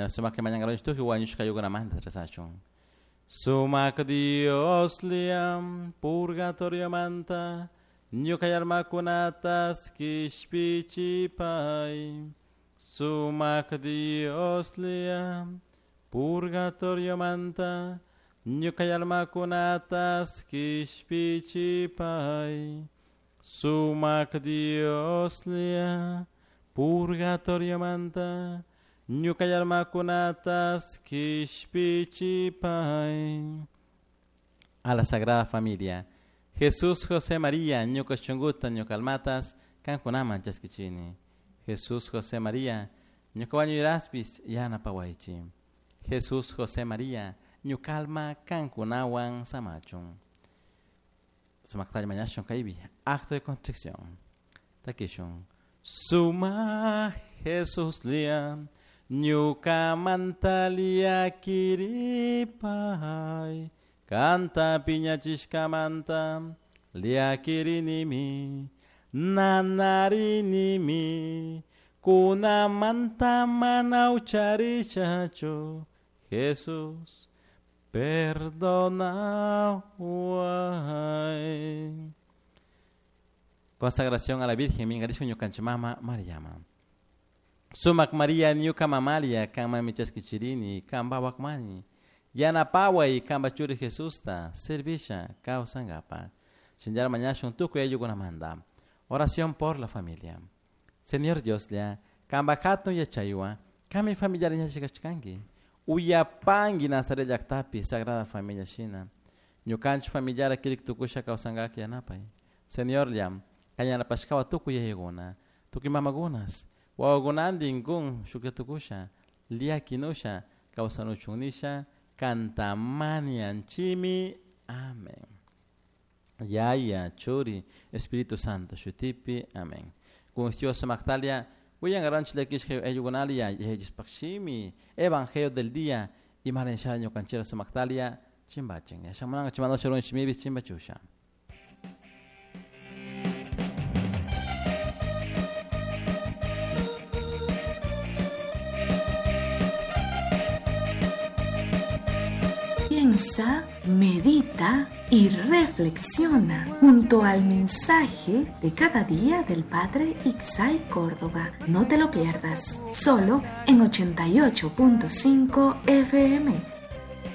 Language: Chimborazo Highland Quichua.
Sumak mañangaronchik tukuy wañushka ayllunamanta rezachun. Sumak Dios liam purgatoriomanta ñuka almakunatas kishpichipay. Sumak Dios liam purgatoriomanta ñuka almakunatas kishpichipay. Sumak Dios lia purgatoriomanta ñuka almakunatas kishpichipay. A la Sagrada Familia. Jesús, José, María, ñuka shunguta, ñuka almatas, kankunaman chaskichini. Jesús, José, María, ñuka wañuyraspis yanapawaychi. Jesús, José, María, ñuka alma kankunawan samachun. Sumaktalla mañashun kaypi, acto de contrición. Takishun. Suma Jesús lia, ñuka mantalia kiripay. Kanta piñachishkamanta liakirinimi, nanarinimi, kunamanta mana ucharishachu. Jesús, perdona. Consagración a la Virgen, mingarishun ñukanchik mama Mariama. Sumak María ñuka mamalia, kanman michaskichirini, kanpa wakmani. Yanapaway kanpa churi Jesusta, servisha kawsankapa. Shinllar mañashun tukuy ayllukunamanta. Oración por la familia. Señor Dioslla, kanpa hatun yachaywan, kanmi familiar ñachikashkanki. Uyapanki Nazaret llaktapi, Sagrada Familia shina. Ñukanchik familiar kirik tukusha kawsankaka yanapay. Señorlla, kan yanapashkawa tukuy yayakuna, tukuy mamakunas, wawakunantin kun shuklla tukusha, liakinusha, kawsanuchun nisha, kantamanianchimi. Amén. Yaya, Churi, Espíritu Santo, shutipi. Amén. Kun Dios maktalia, willankaranchik llakishka ayllukunalia, yachaychispakshimi, Evangelio del día, y marensha ñukanchira sumaktalia, chimbachin. Yashamunanga chimanocha shimibis chimbachusha. Piensa, medita y reflexiona junto al mensaje de cada día del Padre Ixay Córdoba. No te lo pierdas, solo en 88.5 FM.